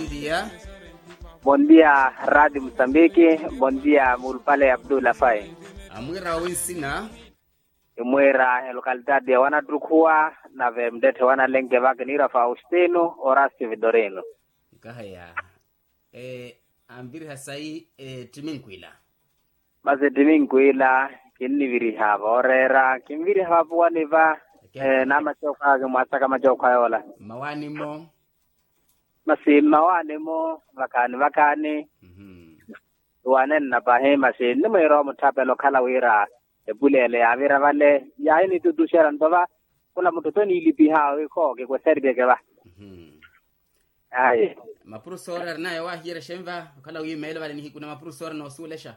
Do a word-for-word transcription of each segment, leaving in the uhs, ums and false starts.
Bondia. Bondia, radi musambiki. Bondia mulupale abdulafai. Amwira owi nsina? Imwira elocalidade ya wanatrukhuwa, nave mttetthe wanalenke vakiniira faustino orasti vitorino. Nkahaya. Anviriha sayi ettiminkwila. Masi ettiminkwila, kinniviriha vooreera kinviriha vapuwani va. Namacookha kimwasaka macookha yoola. Mmawaani-mo? Masi mmawaani-mo vakhaani vakhaani. Tuwanenna pahi masi nnimwiira omutthapela okhala wira epuleele yaavira vale yaahinitutuxera nto va. Khula mutthu toniilipiha wiikho kikweseriryeke va. Ayi. Mapuro soorera naye waahiyera xenva okhala wiimeelo vale nihiku na mapuro soorera noosuwelexa?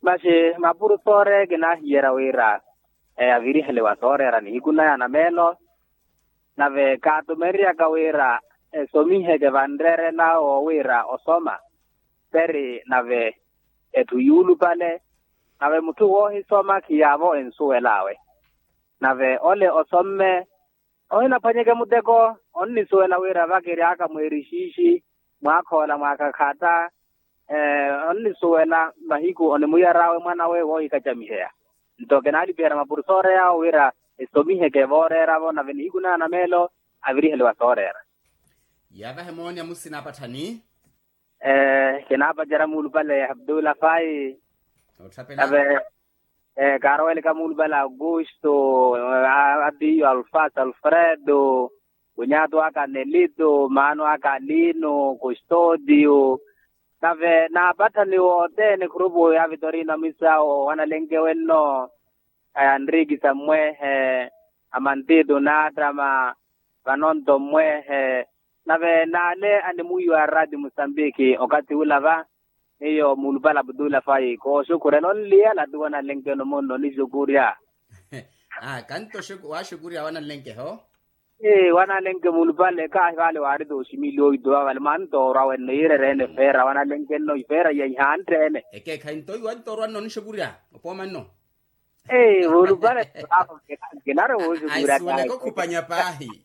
Masi mapuro soorera kinaahiyera wira eyaviriheliwa soorera nihiku naya na meelo. Nave kaatumereryaka wira esomiheke vanreerela wo wira osoma. Peri nave etthu yuulupale. Nave mutthu woohisoma khiyaavo ensuwel'awe. Nave ole osomme ohinaphwanyeke muteko. Onnisuwela wira vakiry'aka mweerixiixi mwaakhoola mwaakhakhata. Onnisuwela mahiku onimuyar'awe mwan'awe woohikacamiheya. Nto kinaalipiherya mapuro sooreera awo wira esomiheke vooreeravo nave nihiku naya na meelo aviriheliwa sooreera. Yaavahe mooni amusina apatthani. Kinaapacerya muulupale abdulafai. Nave kaaroweleka muulupale augusto, atiyo alfas alfredo, kunyatu aka nelito maano aka lino kustodio. Nave naapatthani wothene khurupu ya vitorino amisawo wanalenke wenno. Anriki sammwehe, amantito naattama vanonto mmwehe. Nave naale animwiiwa arati musambiki okathi ula va. Miyo muulupale abdulafai kooxukurya nonliyala ti wanalenke-no munno onixukurya. Kanto waaxukurya wanalenke-ho. Wanalenke muulupale kaahi vale waarita oximili oito vavale mantoorwa wenno yiirerene feera wanalenke-no ifeera iya ihantte-ene. Ekeekhayi nto iwantoorwa nno onixukurya opooma nno. Muulupale. Kinari wuuxukurya aisuweleke okhupanya paahi.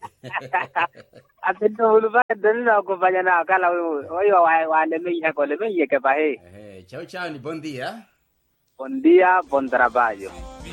Asinno muulupale tonina okhupanya naakhala weiwo. Weiwo waalemeihaka olemeiheke pahi. Chawu chawu ni bondia. Bondia bontrapayo.